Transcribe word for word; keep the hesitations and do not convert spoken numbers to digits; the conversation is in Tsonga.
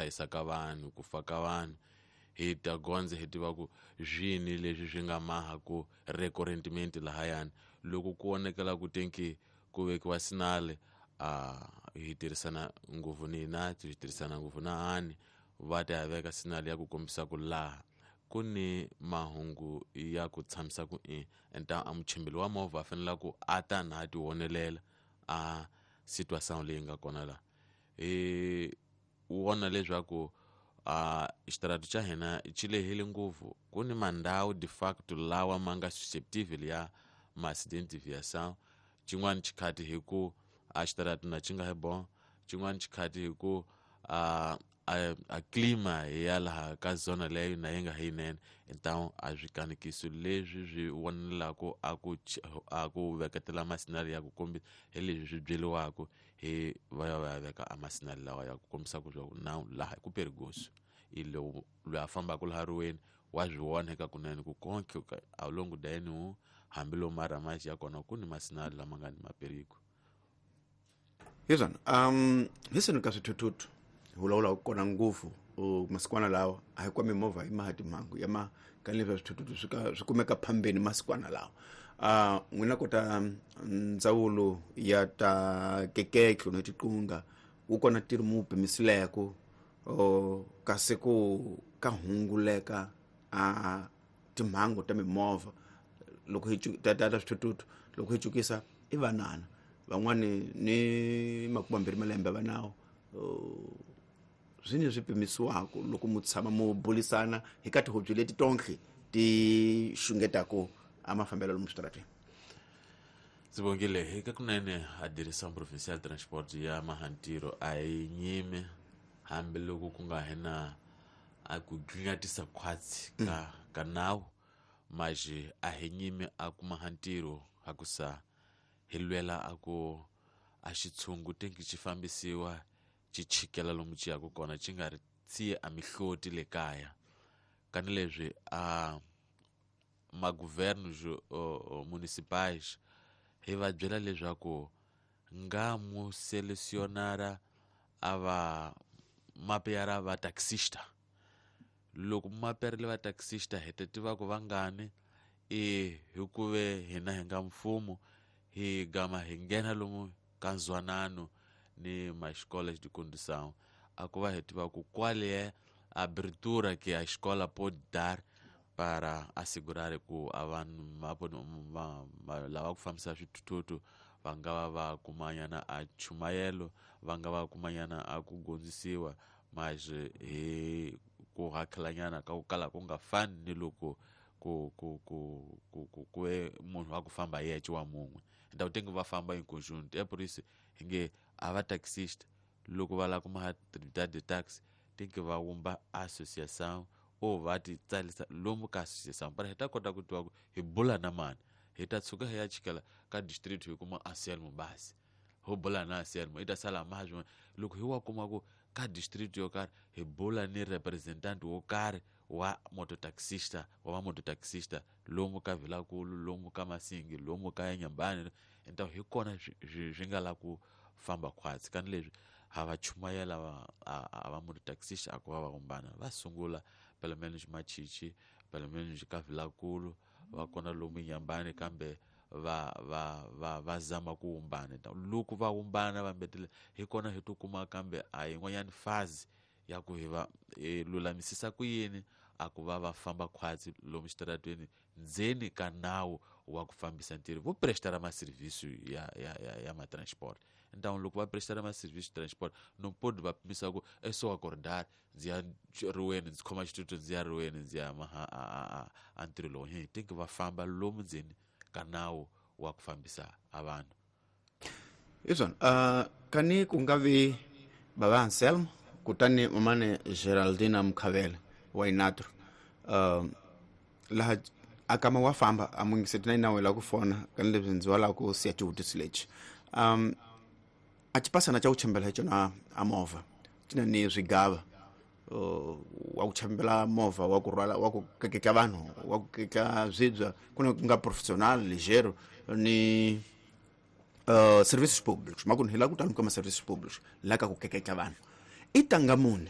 chayisa ka vanhu ku fa ka vanhu hi ta gondza hi tiva ku swini leswi swi nga maha ku recurrentment lahayani loko ku vonekela ku tenki ku vekiwa sinale a hi tirhisana ngopfu ni na hi tirhisana ngopfu na ani va ta ya veka sinale ya ku kombisa ku laha ku ni mahungu ya ku tshamisa ku i enta a muchimbeli wa movha a fanele ku a ta na a ti vonelela a situation leyi nga kona la hi vona leswaku a xitaratu xa hina xi lehile ngopfu ku ni mandhawu de facto lawa ma nga susceptible ya ma-accident deviation xin'wana xikhati hi ku a xitaratu na xi nga hi bon xin'wana xikhati hi ku a a, a clima ya laha ka zona leyo na yi nga hi yinene então a swi kanekiso leswi swi vonelaku a ku a ku veketela masinali ya ku kombisa hi leswi swi byeliwaku hi va ya va ya veka a masinali lawa ya ku kombisa ku swa ku now laha ku perigoso i lowu loyi a fambaka laha riweni wa swi vona eka kunene ku konke a longo da yeni hambi lomu maramaxi ya kona ku ni masinali lama nga ni maperigo hi swona um hi swini ka swithuthuthu hi vulavula kona ngopfu masikwana lawa a hi kwa mimovha yi maha timhangu ya ma ka leswi swithuthuthu swi ka swi kumeka phambeni masikwana lawa uh n'wina kota ndzawulo ya ta keketlo ni tiqunga wu kona ntirho mu pimisileko kasi ku ka hunguleka a timhangu ta mimovha loko hi ta ta swithuthuthu loko hi cukisa i vanana van'wani ni makume mambirhi malembe va nawo swini swi pimisiwaka loko mu tshama mu bulisana hi ka tihobye leti tonke ti xungetaku a mafambelo lomu switarateni. Sibongile hi ka kunene a Direção Provincial Transport ya Mahantiro a yi nyime hambiloko ku nga hi na a ku gcingatisa khwatsi ka ka nawu maji a hi nyime a ku mahantiro a ku sa hi lwela a ku a xitshungu tenki xi fambisiwa xi chikela lomu xi yaka kona xi nga ri tsiye a mihloti le kaya kani leswi a magovernos municipais hi va byela leswaku nga mu selecionara a va mapeara va taxista loko maperile va taxista hi ta tiva ku vangani i hikuve hina hi nga mfumo hi gama hi nghena lomu ka nzwanano ni ma-escolas de condução a ku va hi tiva ku qual é a abertura que a escola pode dar para assegurar ku a vanhu lava ku fambisa swithuthuthu va nga va va kumanyana a chumayelo va nga va kumanyana a ku gondzisiwa mas hi ku hakelanyana ka ku kala ku nga fani ni loko ku ku ku ku ku ku munhu wa ku famba yexe wa mun'we então tem que va famba em conjunto é por isso hi nge a va taxista loko va lava ku maha atividade de taxi tem que va wumba associação ou va ti tsarisa lomu ka associação para hi ta kota ku tiva ku hi bula na mani hi ta tshuka hi ya chikela ka district hi kuma Anselmo basi ho bula na Anselmo i ta sala maha swin'wana loko hi wa kuma ku ka district yo karhi hi bula ni representante wo karhi wa mototaxista wa va mototaxista lomu ka Vilakulu lomu ka Masingi lomu ka Nyambani então hi kona swi nga la ku famba khwatsi kani leswi ha va chumayela va a va mototaxista a ku va va vumbana va sungula pelo menos Machichi pelo menos ka Vilakulu va kona lomu Nyambani kambe va va va va zama ku wumbana loko va wumbana va mbetele hi kona hi to kuma kambe a yin'wanyana fazi ya ku hi va lulamisisa ku yini a ku va va famba khwatsi lomu xitaratweni ndzeni ka nawu wa ku fambisa ntirho vo prestara maserviço ya ya ya ya matransport então loko va prestara maserviço transport no pode va pimisa ku é só acordar ndzi ya riweni ndzi khoma xitutu ndzi ya riweni ndzi ya maha a a a ntirho lowu hi tem que va famba lomu ndzeni ka nawu wa ku fambisa a vanhu hi swona uh, kani ku nga vi bava Anselmo kutani mamane Geraldina Mkhavele wa Inatro uh, laha a kama wa famba a mungiseti na inawe la ku fona kani leswi ndzi wa la ku siya xivutiso lexi um a xipasana xa ku chembela hi xona a movha xi na ni swigava uh, wa ku chembela movha wa ku rhwala wa ku keketla vanhu wa ku keketla swibya ku na ku nga professional ligero ni uh, services públicos makuni hi la ku tala ka ma-services públicos la ka ku keketla vanhu i tanga muni